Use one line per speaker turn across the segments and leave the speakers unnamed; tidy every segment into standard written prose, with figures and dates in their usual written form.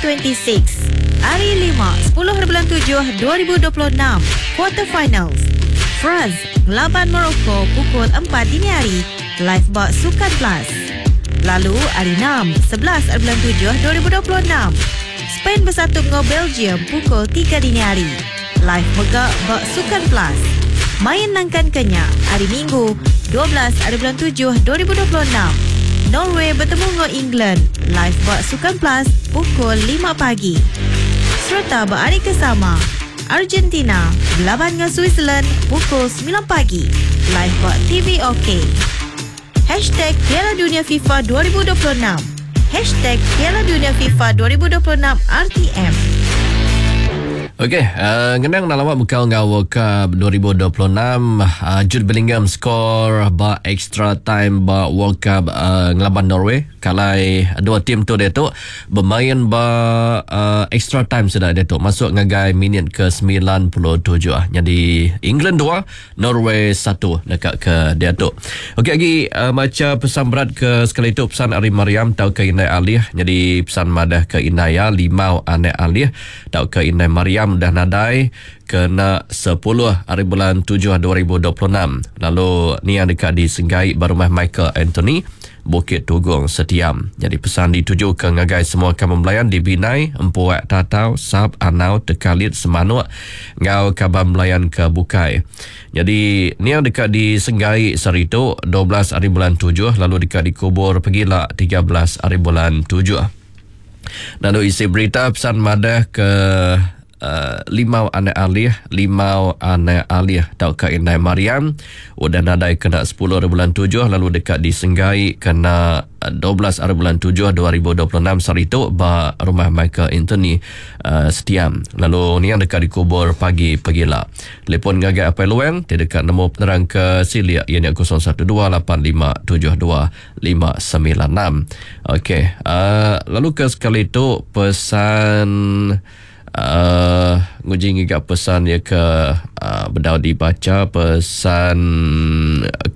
26. Hari Lima, sepuluh haribulan tujuh 2026, Quarter Finals. France ngelaban Morocco pukul empat dini hari, live ba Sukan Plus. Lalu hari Enam, 11 haribulan tujuh 2026, Spain besatup enggau Belgium pukul tiga dini hari, live mega ba Sukan Plus. Main nangkan ke nya, hari Minggu, 12 haribulan tujuh 2026, Norway betemu enggau England live ba Sukan Plus pukul lima pagi. Sereta ba hari ke sama, Argentina belaban enggau Switzerland pukul semilan pagi live ba TV OK. Hashtag Piala Dunia FIFA 2026 Hashtag Piala Dunia FIFA 2026 RTM.
Okey, uh, ngenang nak lawak bekal enggau World Cup 2026, uh, Jude Bellingham skor ba extra time ba World Cup uh, ngelaban Norway. Kalai dua tim tu diatu bemain ba uh, extra time sida diatu masuk ngagai minit ke 97. Nyadi England 2, Norway 1 neka ke diatu. Okey agi uh, macha pesan berat ke sekali tu pesan ari Mariam tauka Indai Alih nyadi pesan madah ke indai iya Limau anak Alih tauka Indai Mariam udah nadai kena sepuluh ari bulan tujuh 2026 lalu niang deka disenggai ba rumah Michael Anthony, Bukit Tugong, Setiam. Nyadi pesan ditujuka ngagai semua kaban belayan di Binai, Empuak, Tatau, Sap, Anau, Tekalit, Semanuk enggau kaban belayan ke bukai. Nyadi niang deka disenggai sehari tu 12 ari bulan tujuh lalu deka dikubur pegila 13 ari bulan tujuh. Lalu isi berita pesan madah ke uh, limau anak alih, limau anak alih tauka indai Mariam udah nadai kena 10 hari bulan 7 lalu deka disenggai kena 12 hari bulan 7 2026 sehari tu ba rumah Michael Anthony uh, Setiam. Lalu niang deka dikubur pagi pegila. Telefon ngagai Apai Luang ti deka nemu penerang ke silik iya nya 012857 596. Okey, uh, lalu ke sekali tu pesan uh, nguji ngiga pesan ya ke uh, bedau dibaca pesan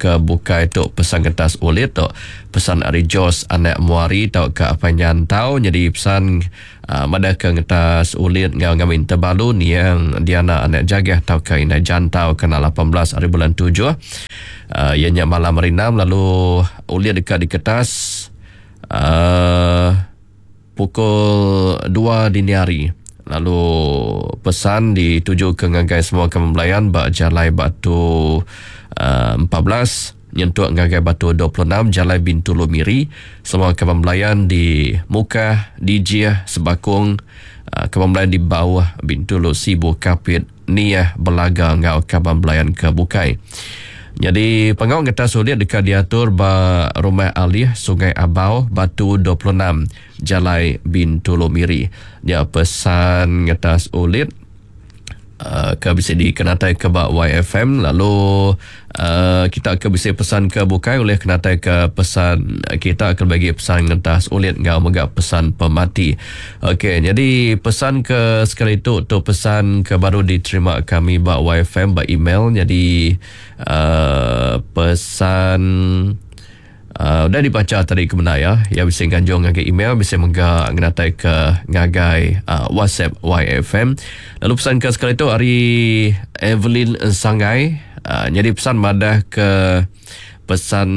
ke bukai tu pesan kertas ulit tu pesan ari Jos anak Muari tau ke apa nyantau jadi pesan uh, madah ke ngetas ulit ngau ngamin tebalu niang Diana anak Jagah tauka Indai Jantau kena 18 hari bulan 7 uh, iya nya malam hari 6 lalu ulit deka diketas uh, pukul 2 dini hari lalu pesan dituju ke ngagai semua kaban belayan ba Jalai Batu uh, 14 nyentuk ngagai Batu 26 Jalai Bintulu Miri. Semua kaban belayan di Mukah, Dijih, Sebakung, uh, kaban belayan di Bauh, Bintulu, Sibu, Kapit, Niah, Belaga enggau kaban belayan ke bukai. Nyadi pengawa ngetas ulit deka diatur ba Rumah Alih, Sungai Abau, Batu 26, Jalai Bintulu Miri. Nya pesan ngetas ulit. Uh, ke bisi dikenatai ke ba YFM lalu uh, kita ke bisi pesan ke bukai ulih kenatai ke pesan kita ke bagi pesan ngentas ulit enggau mega pesan pemati. Okey, jadi pesan ke sekali tu tu pesan ke baru diterima kami ba YFM ba email jadi uh, pesan Uh, udah dibaca tadi ke bendar ya. Ya bisi nganjung ngagai email, bisi mega ngenatai ke ngagai uh, WhatsApp YFM. Lalu pesan ke sekali tu ari Evelyn Sangai. Uh, jadi pesan madah ke pesan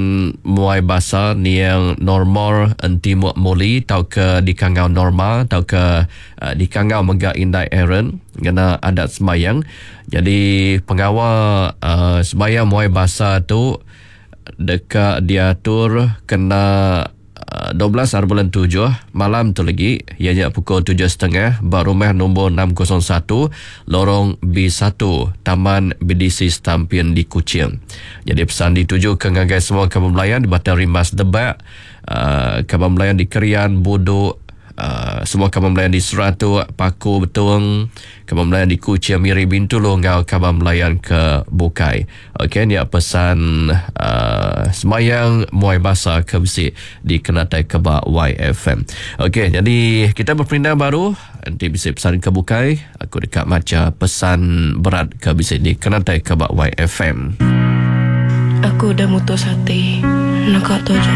muai basa niang Normor Entimuk Muli tauka dikangau Norma tauka uh, dikangau mega Indai Aaron ngena adat sembayang. Jadi pengawa uh, sembayang muai basa tu deka diatur kena 12 hari bulan 7 malam tu lagi iya nya pukul tujuh setengah ba rumah nombor 601 Lorong B1 Taman BDC Stampin di Kuching. Jadi pesan ditujuka ngagai semua kaban belayan di Batang Rimbas Debak, kaban belayan di Kerian, Buduk, Semua kaban belayan di Seratok, Paku, Betong, kaban belayan di Kuching, Miri, Bintulu enggau kaban belayan ke bukai. Okey nya pesan uh, semayang muai basa ke bisi dikenatai ke ba YFM. Okey jadi kita berperindang baru enti bisi pesan ke bukai aku deka macha pesan berat ke bisi dikenatai ke ba YFM.
Aku udah mutus ati naka tu aja.